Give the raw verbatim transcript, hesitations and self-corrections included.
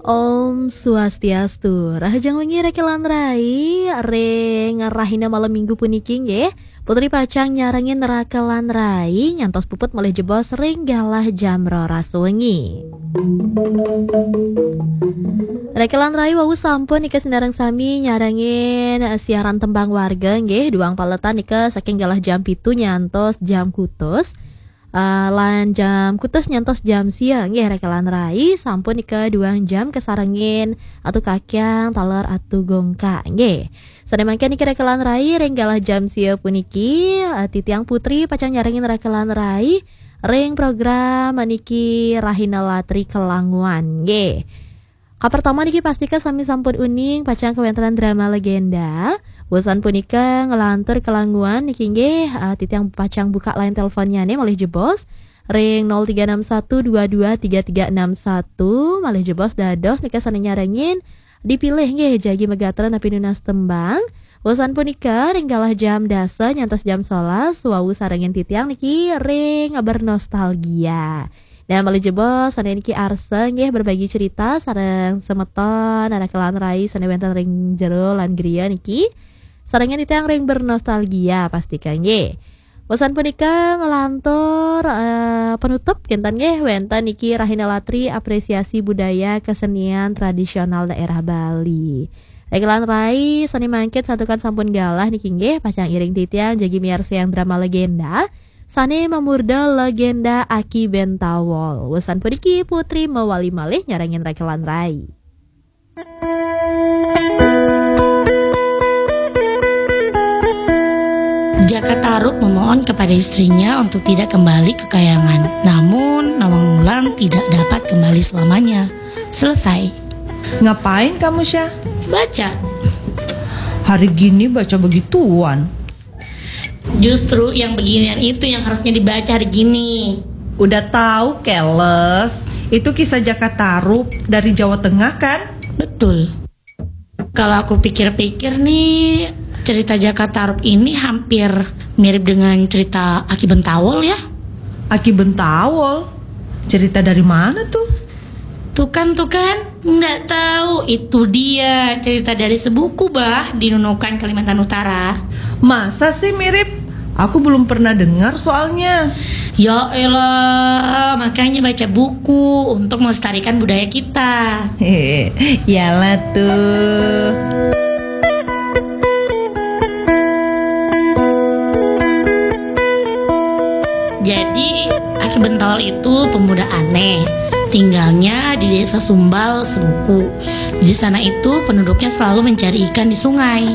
Om Swastiastu. Rahajeng wengi Rekelan Rai, ring rahina malem Minggu puniki nggih. Putri pacang nyarengin Rekelan Rai nyantos puput malih jebos ring galah jam roras wengi. Rekelan Rai wau sampun nika sinareng sami nyarengin, eh, siaran tembang warga nggih, duang paletan nika saking galah jam pitu nyantos jam kutus. Eh, lan jam kutus nyantos jam sia nggih Rekelan Rai sampun nika duang jam kasarengin Atu Kakyang taler Atu Gongka nggih. Sane mangkin niki Rekelan Rai ring galah jam sia puniki, eh, titiang Putri pacang nyarengin Rekelan Rai ring program niki Rahina Latri Kelanguan nggih. Kapertama niki pastika sami sampun uning pacang kawentenan drama legenda. Wusan punika nglantur kelanguan niki nggih, eh, titiang pacang buka line teleponnyane malih jebos ring nol tiga enam satu dua dua tiga tiga enam satu, malih jebos dados nika sane nyarengin dipilih nggih jagi megatra napi nunas tembang. Wusan punika ring galah jam dasa nyantos jam sebelas wau sarengin titiang niki ring bernostalgia. Nah, malih jebos sane niki arsa nggih berbagi cerita sareng semeton Rekelan Rai sane wenten ring jero lan griya niki. Sarengin titiang ring bernostalgia pastika nggih. Wusan punika nglantur, eh, penutup kinten nggih wenten niki Rahina Latri apresiasi budaya kesenian tradisional daerah Bali. Rekelan Rai sane mangkin santukan sampun galah niki nggih pacang iring titiang jagi miarsayang drama legenda sane mamurda Legenda Aki Bentawol. Wusan puniki Putri mawali malih nyarengin Rekelan Rai. Jaka Tarub memohon kepada istrinya untuk tidak kembali ke kayangan. Namun, Nawang Wulan tidak dapat kembali selamanya. Selesai. Ngapain kamu, Syah? Baca. Hari gini baca begituan. Justru yang beginian itu yang harusnya dibaca hari gini. Udah tahu, keles. Itu kisah Jaka Tarub dari Jawa Tengah, kan? Betul. Kalau aku pikir-pikir nih, cerita Jaka Tarub ini hampir mirip dengan cerita Aki Bentawol ya. Aki Bentawol? Cerita dari mana tuh? Tuh kan, tuh kan, nggak tahu. Itu dia cerita dari sebuku, Bah, di Nunukan, Kalimantan Utara. Masa sih mirip? Aku belum pernah dengar soalnya. Ya elah, makanya baca buku untuk melestarikan budaya kita. Iyalah tuh. Jadi, Aki Bentawol itu pemuda aneh. Tinggalnya di Desa Sumbal, Sebuku. Di sana itu penduduknya selalu mencari ikan di sungai.